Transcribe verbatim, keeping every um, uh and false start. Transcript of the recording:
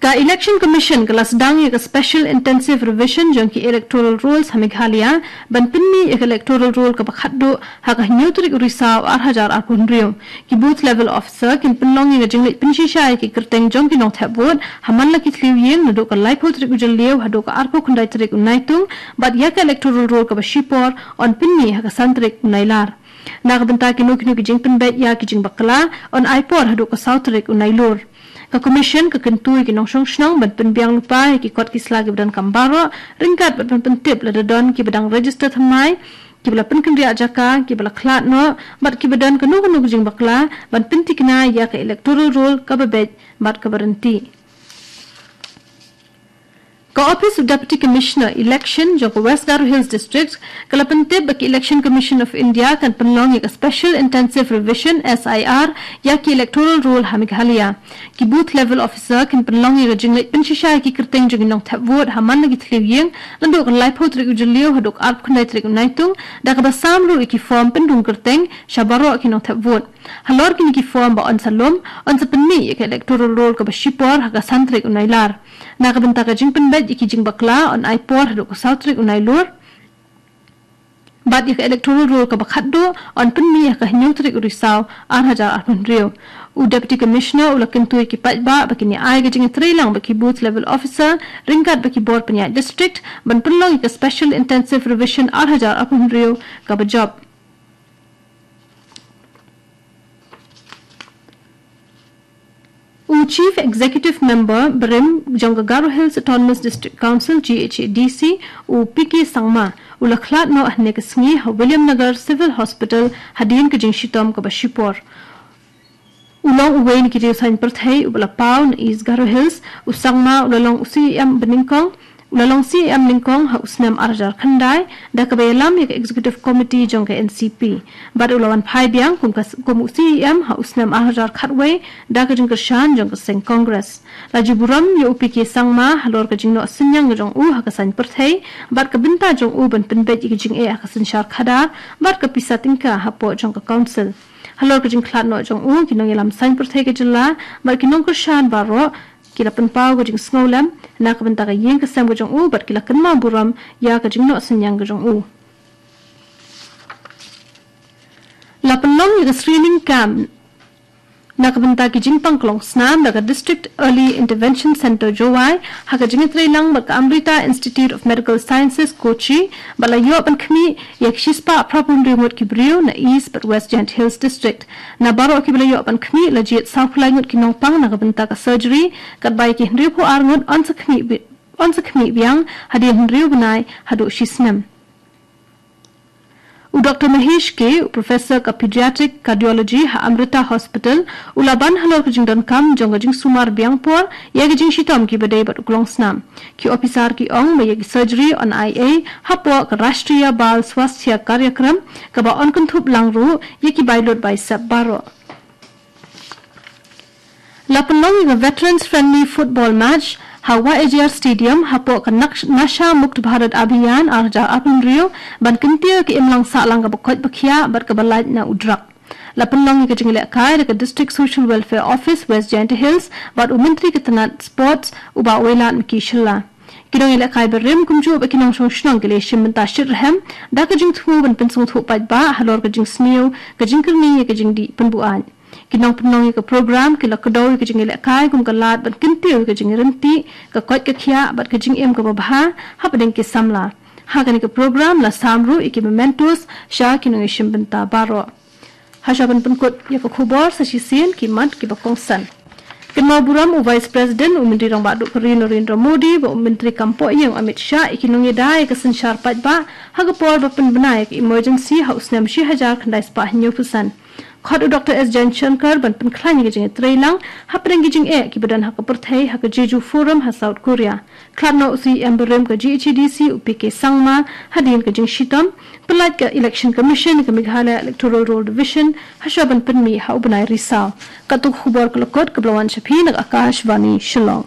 Ka Election Commission ka la sdang ïa ka Special Intensive Revision jong ki Electoral Rolls ha Meghalaya, ban pynmih ïa ka Electoral Roll kaba khatduh ha ka hynñiew tarik u Risaw arhajar arphew hynriew. Ki Booth Level Officer kin pynlong ïa ka jingleit pynshisha ïa ki kyrteng jong ki nongthep vote ha man la ki thliew ïing naduh ka laiphew tarik u Jylliew haduh ka arphew khyndai tarik u Naitung, bad ïa ka Electoral Roll kaba shipor yn pynmih ha ka san tarik u Nailar. Na ka bynta kino kino ki jingpynbeit ïa ki jingbakla, yn ai por haduh ka saw tarik u Nailur. Ka Commission ka kyntu ïa ki nongshong shnong ban pynbiang lypa ïa ki kot ki sla kiba donkam baroh, ryngkat bad ban pyntip lada don kiba dang register thymmai, kiba la pynkynriah jaka, kiba la khlad noh, bad kiba don kano kano ka jingbakla, ban pynthikna ïa ka Electoral Roll kaba beit bad kaba ryntih. Ka Office of Deputy Commissioner Election jong ka West Garo Hills District ka la pyntip ba ka Election Commission of India kan pynlong ïa ka Special Intensive Revision, S I R, ïa ki Electoral Roll ha Meghalaya. Ki Booth Level Officer kin pynlong ïa ka jingleit pynshisha ïa ki kyrteng jong ki nongthep vote ha man la ki thliew ïing naduh ka laiphew tarik u Jylliew haduh ka arphew khyndai tarik u Naitung, da kaba sam ruh ïa ki form pyndung kyrteng sha baroh ki nongthep vote. Halor kine ki form ba yn sa lum, yn sa pynmih ïa ka Electoral Roll kaba shipor ha ka san tarik u Nailar. Na ka bynta ka jingpynbeit ïa ki jingbakla, yn ai por haduh ka saw tarik u Nailur. Bad ïa ka Electoral Roll kaba khatduh, yn pynmih ha ka hynñiew tarik u Risaw arhajar arphew hynriew. U Deputy Commissioner u la kyntu ïa ki paidbah ba kin ïa ai ka jingïatreilang bad ki Booth Level Officer ryngkat bad ki bor pynïaid district ban pynlong ïa ka Special Intensive Revision arhajar arphew hynriew kaba jop. U Chief Executive Member barim jong ka Garo Hills Autonomous District Council, G H A D C, u P K Sangma, u la khlad noh hynne ka sngi ha Williamnagar Civil Hospital hadien ka jingshitom kaba shipor. U long uwei na ki riewsaiñ pyrthei uba la paw na East Garo Hills. U Sangma u la long u C E M banyngkong, u la long C E M nyngkong ha u snem arhajar khyndai, da kaba ïalam ïa ka Executive Committee jong ka N C P. Bad u la wan phai biang kum ka, kum u C E M ha u snem arhajar khatwei, da ka jingkyrshan jong ka seng Congress. La ju burom ïa u P K Sangma halor ka jingnoh synñiang ka jong u ha ka saiñ pyrthei, bad ka bynta jong u ban pynbeit ïa ka jingeh ha ka synshar khadar, bad ka pisa tyngka hapoh jong ka Council. Halor ka jingkhlad noh jong u, ki nongïalam saiñ pyrthei ka jylla, bad ki nongkyrshan baroh, ki la pynpaw ka jingsngewlem na ka bynta ka ïing ka sem ka jong u, bad ki la kynmaw burom ïa ka jingnoh synñiang ka jong u. La pynlong ïa ka screening camp na ka bynta ki jingpang klong snam da ka District Early Intervention Centre Jowai, ha ka jingïatreilang bad ka Amrita Institute of Medical Sciences Kochi, bad la ïoh ban khmih ïa ki shispah phra phew hynriew ngut ki briew na East bad West Jaintia Hills District. Na baroh kiba la ïoh ban khmih la jied sawphew lai ngut ki nongpang na ka bynta ka surgery, katba ïa ki hynriewphew ar ngut yn sa khmih bi-, yn sa khmih biang hadien hynriew bnai haduh shisnem. U Doctor Mahesh K, u Professor ka Pediatric Cardiology ha Amrita Hospital, u la ban halor ka jingdonkam jong ka jingsumar biang por ïa ka jingshitom kiba dei bad u klong snam. Ki ophisar ki ong ba ïa ki surgery yn ai ei hapoh ka Rashtriya Bal Swasthya Karyakram, kaba yn kynthup lang ruh ïa ki bai lut bai sep baroh. La pynlong ïa ka Veterans Friendly Football Match ha Y A G R Stadium hapoh ka Naksh-, Nasha Mukt Bharat Abhiyan arhajar arphew hynriew, ban kyntiew ïa ka imlang sahlang kaba koit ba khiah bad kaba lait na u drug. La pynlong ïa ka jingïalehkai da ka District Social Welfare Office West Jaintia Hills bad u Myntri ka tnat Sports, u Bah Wailadmiki Shylla. Ki nongïalehkai barim kumjuh bad ki nongshong shnong ki la shim bynta shitrhem da ka jingthmu ban pynsngewthuh paidbah halor ka jingsniew, ka jingkyrni ïa ka jingdih pynbuaid. Ki nongpynlong ïa ka program ki la kdew ïa ka jingïalehkai kum ka lad ban kyntiew ïa ka jingryntih, ka koit ka khiah bad ka jingim kaba bha hapdeng ki samla. Ha kane ka program la sam ruh ïa ki mementos sha ki nongïashim bynta baroh. Hashwa ban pynkut ïa ka khubor, sa shisien ki mat kiba kongsan. Kynmaw burom u Vice President, u Myntri Rangbah Duh ka ri Narendra Modi, bad u Myntri kam poh ïing Amit Shah, ïa ki nongïada ïa ka synshar paidbah ha ka por ba pynbna ïa ka emergency ha u snem shi hajar khyndai spah hynñiewphew san. Khot u Doctor S Jaishankar ban pynkhlaiñ ïa ka jingïatreilang hapdeng ki jingeh kiba don ha ka pyrthei ha ka Jeju Forum ha South Korea. Khlad noh u C E M barim ka G H A D C, u P K Sangma, hadien ka jingshitom. Pyllait ka Election Commission ïa ka Meghalaya Electoral Roll Revision hashwa ban pynmih ha u bnai Risaw. Katto ka khubor ka la kut, kaba la wan sha phi na ka Akashvani Shillong.